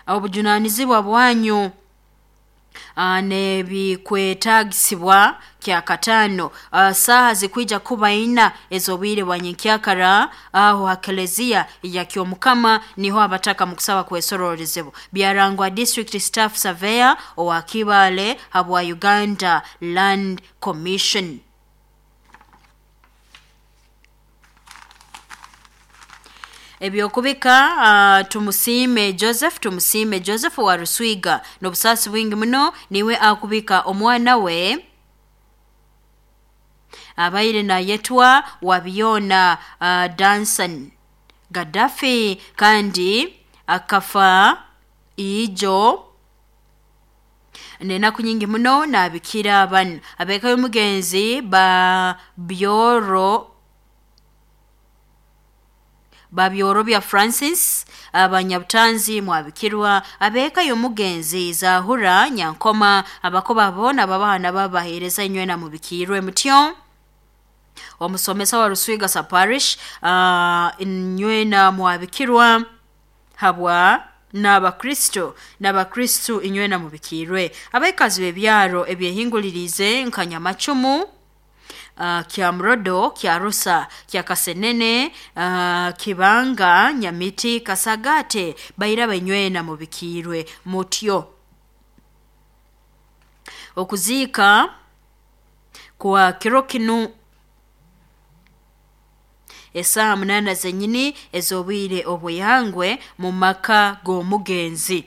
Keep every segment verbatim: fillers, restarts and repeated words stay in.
Obujunanizibwa bwanyu nebikwetagisibwa kyakatano saaha zikwija kuba ina ez'obwire bwa nyenkyakara aho ha kelezia ya Kyomukama niho abataka mukusaba kwesororezebwa. Byarangwa District Staff Surveyor owa Kibale habwa Uganda Land Commission. Ebyokubika uh, Tumusiime Joseph Tumusiime Joseph wa Ruswiga n'obusaasi bwingi muno niwe akubika omwana we abaire nayetwa Wabyona uh, Danson Gaddafi kandi akafa ijo nenaku nyingi muno nabikira bano abeka y'omugenzi ba Byoro Babyorobya Francis abanyabutanzi mwabikirwa abeka y'omugenzi Zahura Nyankoma abakoba bona babana babahereza inywena mubikirwe mutyo. Omusomesa wa Ruswiga sa parish uh, inywena mwabikirwa habwa n'abakristo n'abakristo inywena mubikirwe. Abaikazi b'ebyaro ebyehingulirize nka Nyamacumu, Uh, Kyamrodo, Kyarusa, Kyakasenene, uh, Kibanga, Nyamiti, Kasagate baira benywena mubikirwe mutyo. Okuziika kwa kiro kinu esaaha munana zenyini ez'obwire obweyangwe mu maka g'omugenzi.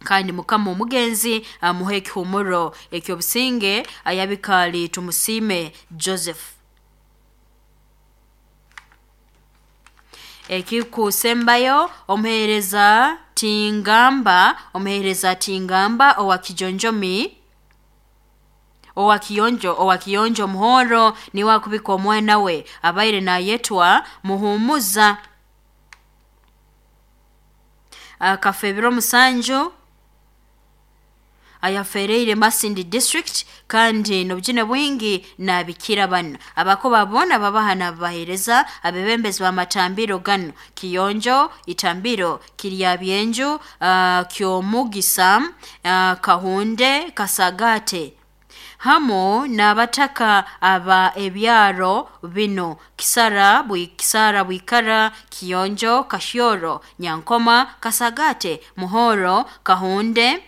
Kandi mukama omugenzi amuhe ekihumuro ekyobusinge ayabikali Tumusiime Joseph. Ekikusembayo omuhereza Tingamba omuhereza Tingamba owa Kijonjomi owa Kiyonjo owa Kiyonjo Muhoro niwe akubika omwana we abaire nayetwa Muhumuza akafa ebiro musanju ayafereire Masindi District kandi n'obujune bwingi nabikira bano abakoba bona babaha nabahereza abebembezi b'amatambiro gano Kiyonjo, Itambiro, Kiryabyenju, uh, Kyomugisa, uh, Kahunde, Kasagate hamo n'abataka aba ebyaro bino Kisara bwi Kisara Bwikara, Kiyonjo, Kashyoro, Nyankoma, Kasagate, Muhoro, Kahunde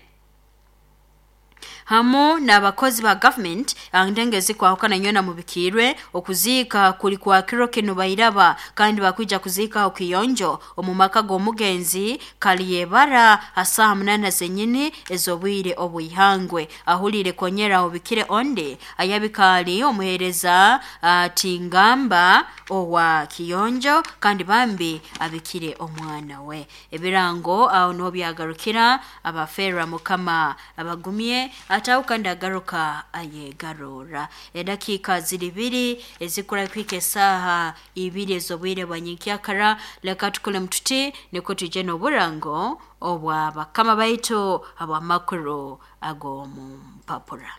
hamu n'abakozi ba government andengezi kwahukana nywena mubikirwe. Okuziika kuli kwa kiro kinu bairaba kandi bakwija kuziika okiyonjo omu maka g'omugenzi Kaliyebara asaha munana zenyini ez'obwire obwihangwe. Ahulire konyera obikire onde ayabikali omuhereza uh, Tingamba owa Kiyonjo kandi bambi abikire omwana we. Ebirango aho niho byagarukira. Abafera mukama abagumye atawu kandi agaruka ayegarura. Edakiika ziri biri ezikura kwika esaaha ibiri ez'obwire bwa nyenkyakara. Leka tukole mututi niko tuje n'oburango obwa bakama baitu ab'amakuru ag'omu mpapura.